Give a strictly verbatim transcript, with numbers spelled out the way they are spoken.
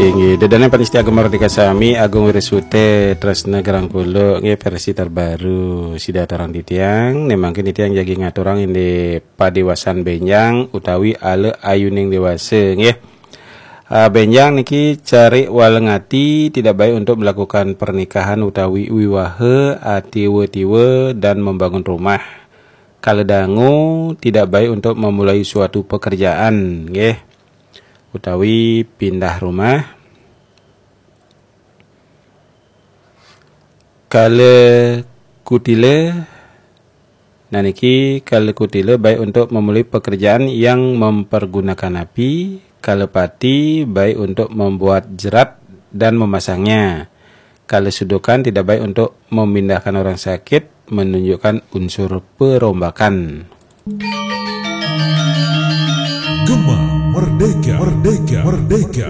Inggih, ida dané pamiarsa Gema Merdeka sami, Agung Wiresute, Tresna Gerang Pulo, nggih, versi terbaru sida aturang titiang, né mangkin titiang jagi ngaturang indik padéwasan bénjang utawi ala ayuning déwasa, nggih. Ah, bénjang niki carik waleng ati, tidak baik untuk melakukan pernikahan utawi wiwaha, ah, tiwa-tiwa dan membangun rumah. Kala dangu, tidak baik untuk memulai suatu pekerjaan, nggih. Utawi pindah rumah. Kala kutila, nah niki kala kutila baik untuk memulai pekerjaan yang mempergunakan api, kala pati baik untuk membuat jerat dan memasangnya. Kala sudukan tidak baik untuk memindahkan orang sakit, menunjukkan unsur perombakan. Gema Merdeka, Merdeka, Merdeka.